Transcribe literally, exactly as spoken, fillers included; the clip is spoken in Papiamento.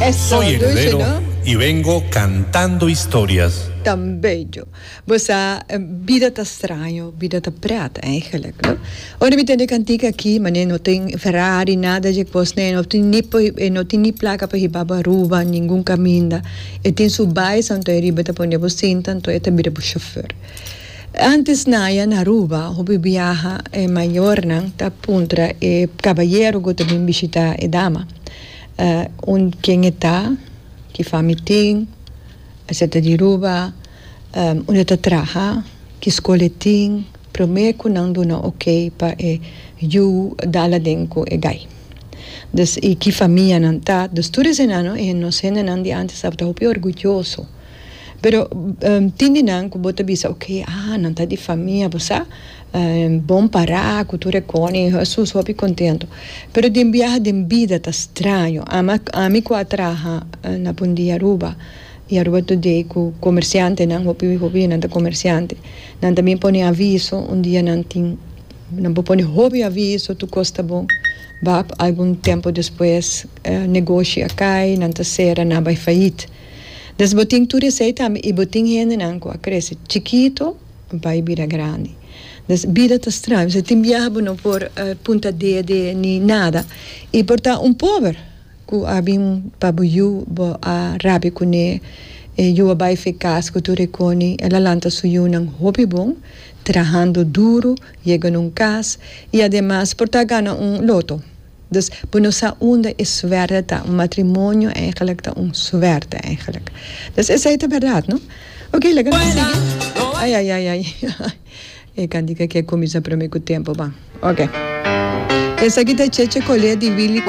Eso, Soy dushi, heredero no? Y vengo cantando historias. Tan bello. Bo sa, bida ta straño, bida ta pret eigenlijk, no? Ora mi tende e kantika aki, ma no tin Ferrari, nada di kos, nee, no tin ni e no tin ni plaka pa hiba Aruba, ningun kaminda. E tin su bais, anto e riba ta pone bo sinta, anto e ta bira bo chauffeur. Antes na ya na Aruba, hopi biaha e mayornan ta puntra e kabayero ku ta bin bishitá e dama. Uh, un ken e ta, ki famia tin, e ta di Aruba, um, unda e ta traha, ki skol e tin, promé ku nan duna ok pa e yu dal aden ku e gai. Dus i ki famia nan ta, dus tur esei, e nos hendenan di antes tabata hopi orguyoso. Pero um, tin di nan ku bo ta bisa, ok, ah, nan ta di famia, bo sa, um, bon pará, kultura koni, Jesus, hopi kontentu. Pero den biaha den bida ta straño. Ama, ami ku a traha na Bon Dia Aruba, i Aruba Today ku komersiantenan, hopi hopi nan ta komersiante. Nan tambe pone aviso, un dia nan tin, nan pone hopi aviso, tur kos ta bon. Bap, algun tempu despues, eh, negoshi a kai, nan ta sera, nan bai failliet. Dus bo tin tur esei tambe i bo tin hendenan ku a krese chikitu, bai bira grandi. Dus bida ta straño. Si tin biaha bo no por uh, punta dede ni nada. I por ta un pober ku a bin pa bo yu, bo a rabia kuné, e yu a bai fi kas ku tur e kosnan, el a lanta su yunan hopi bon, trahando duru, yega na un kas i ademas por ta gana un loto. Dus bo no sa unda e suerte ta. Un matrimonio eigenlijk ta un suerte eigenlijk. Dus esei ta berdat, no? Ok, legal. Ai, ai, ai, ai. E kantika ku a kuminsá promé ku tempu, ban. Ok. Esaki ta Cheche Colé di Willy.